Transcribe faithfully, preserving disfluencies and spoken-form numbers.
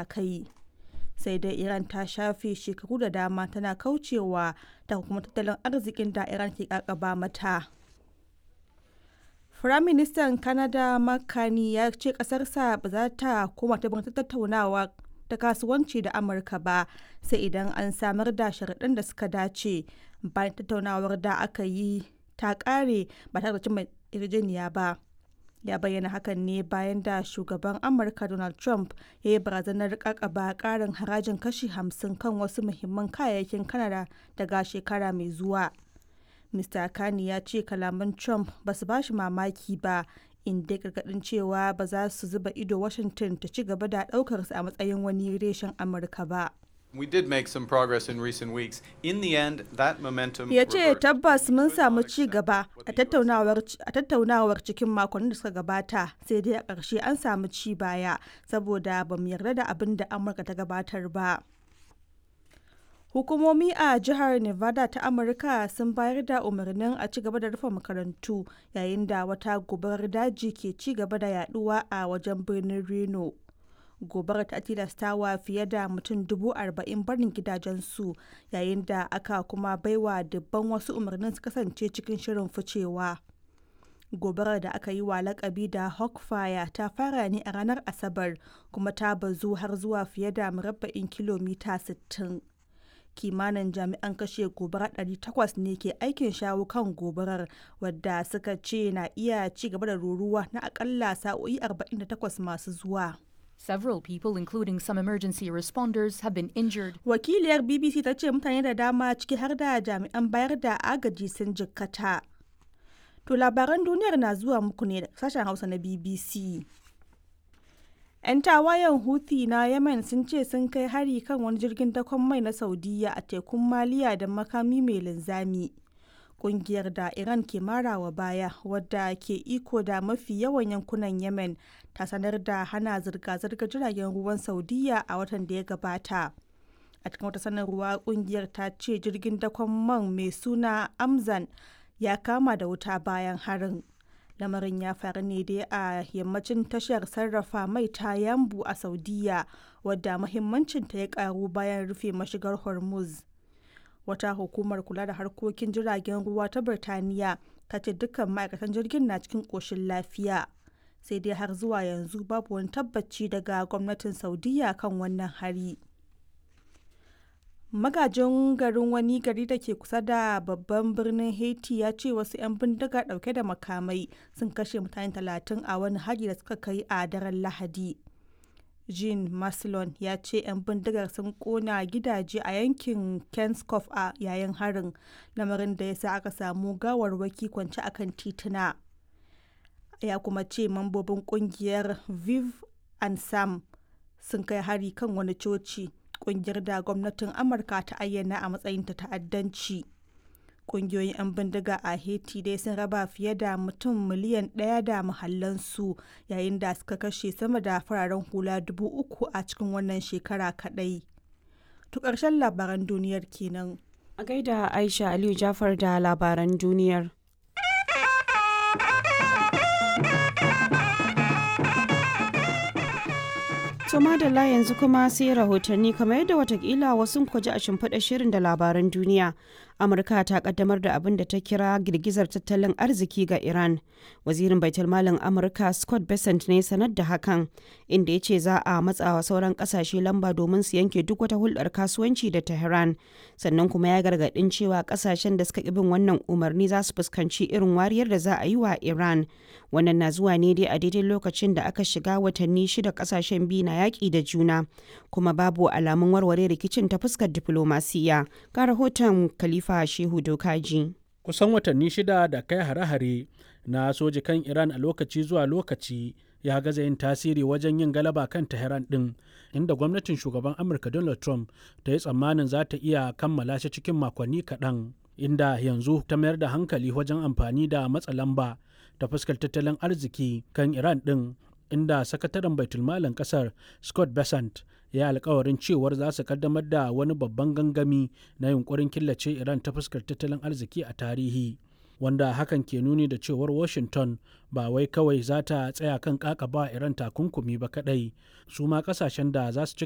matakai. Sai dai Iran ta shafe shekaru da dama tana kaucewa takunkuman tattalin arzikin da Iran ke kakaba mata. Firaministan Canada Mark Carney ya ce ƙasarsa ba za ta koma teburin tattaunawa ta kasuwanci da Amurka ba sai idan an samar da sharuɗan da suka dace, bayan tattaunawar da aka yi ta ƙare ba tare da cimma yarjejeniya ba. Ya bayyana hakan ne bayan da shugaban Amurka Donald Trump ya yi barazanar kakaba ƙarin harajin kashi hamsin kan wasu muhimman kayayyakin Canada daga shekara mai zuwa. Mister Carney ya ce kalaman Trump ba su ba shi mamaki ba, inda ya gargadin cewa ba za su zuba ido Washington ta ci gaba da ɗaukarsa a matsayin wani reshen Amurka ba. We did make some progress in recent weeks. In the end, that momentum Ya ce reversed. tabbas mun samu ci gaba a tattaunawar a tattaunawar cikin makonnin da suka gabata, sai dai a ƙarshe an samu ci baya saboda ba mu yarda da abin da Amurka ta gabatar ba. Hukumomi a jihar Nevada ta Amurka sun bayar da umarnin a ci gaba da rufe makarantu yayin da wata gobarar daji ke ci gaba da yaduwa a wajen birnin Reno. Gobarar ta tilastawa fiye da mutum dubu arba'in barin gidajensu yayin da aka kuma baiwa dubban wasu umarnin su kasance cikin shirin ficewa. Gobarar da aka yi wa lakabi da Hawk Fire ta fara ne a ranar Asabar kuma ta bazu har zuwa fiye da murabba'in kilomita sittin. Kimanin jami'an kashe gobara ɗari takwas ne ke aikin shawo kan gobarar, wadda suka ce na iya ci gaba da ruruwa na akalla sa'o'i arba'in da takwas masu zuwa. Several people, including some emergency responders, have been injured. Wakiliyar B B C ta ce mutane da dama, ciki har da jami'an bayar da agaji, sun jikkata. To, labaran duniyar na zuwa muku ne da sashen Hausa na B B C. 'Yan tawayen Houthi na Yemen sun ce sun kai hari kan wani jirgin dakon mai na Saudiyya a tekun Maliya da makami mai linzami. Kungiyar da Iran ke marawa baya, wadda ke iko da mafi yawan yankunan Yemen, ta sanar da hana zirga-zirgar jiragen ruwan Saudiyya a watan da ya gabata. A cikin wata sanarwa, kungiyar ta ce jirgin dakon man mai suna Amzan ya kama da wuta bayan harin. Lamarin ya faru ne dai a yammacin tashar sarrafa mai ta Yambu a Saudiya, wadda muhimmancinta ya karu bayan rufe mashigar Hormuz. Wata hukumar kula da harkokin jiragen ruwa ta Birtaniya ta ce dukkan ma'aikatan jirgin na cikin koshin lafiya. Sai dai har zuwa yanzu babu wani tabbaci daga gwamnatin Saudiya kan wannan hari. Magajin garin wani gari da ke kusa da babban birnin Haiti ya ce wasu 'yan bindiga dauke da makamai sun kashe mutane talatin a wani hari da suka kai a daren Lahadi. Jean Maslon ya ce 'yan bindigar sun kona gidaje a yankin Kenskoff a yayin harin, lamarin da ya sa aka samu gawarwaki kwance akan tituna. Ya kuma ce mambobin kungiyar Viv and Sam sun kai hari kan wani coci, kungiyar da gwamnatin Amurka ta ayyana a matsayin ta ta'addanci. Kungiyoyin 'yan bindiga a Haiti dai sun raba fiye da mutum miliyan ɗaya da mahallansu yayin da suka kashe sama da fararen hula dubu uku a cikin wannan shekara kaɗai. To, ƙarshen labaran duniyar kenan. A gaida Aisha Aliyu Jafar da labaran duniyar. To madalla, yanzu kuma sai rahotanni. Kamar yadda watakila wasu ku ji a shimfiɗa shirin da labaran duniya. Amurka ta kaddamar da abin da ta kira girgizar tattalin arziki ga Iran. Wazirin Baitulmalin Amurka Scott Bessent ne sanar da hakan, inda ya ce za a matsawa sauran kasashe lamba domin su yanke duk wata hulɗar kasuwanci da Tehran. Sannan kuma ya gargaɗin cewa kasashen da suka ƙi bin wannan umarni za su fuskanci irin wariyar da za a yi wa Iran. Wannan na zuwa ne dai a daidai lokacin da aka shiga watanni shida kasashen biyu na yaƙi da juna, kuma babu alamun warware rikicin ta fuskar diflomasiya. Ga rahoton Khalifa Shehu Dokaji. Kusan watanni shida da kai hare-hare na soji kan Iran a lokaci zuwa lokaci ya gaza yin tasiri wajen yin galaba kan Tehran din, inda gwamnatin shugaban Amurka Donald Trump ta yi tsammanin za ta iya kammala shi cikin makonni kaɗan, inda yanzu ta mayar da hankali wajen amfani da matsa lamba ta fuskar tattalin arziki kan Iran din, inda sakataren baitulmalin kasar Scott Bessent ya alkawarin cewar za su kaddamar da wani babban gangami na yunkurin killace Iran ta fuskar tattalin arziki a tarihi. Wanda hakan ke nuni da cewar Washington ba wai kawai za ta tsaya kan kakaba Iran takunkumi ba kadai, su ma kasashen da za su ci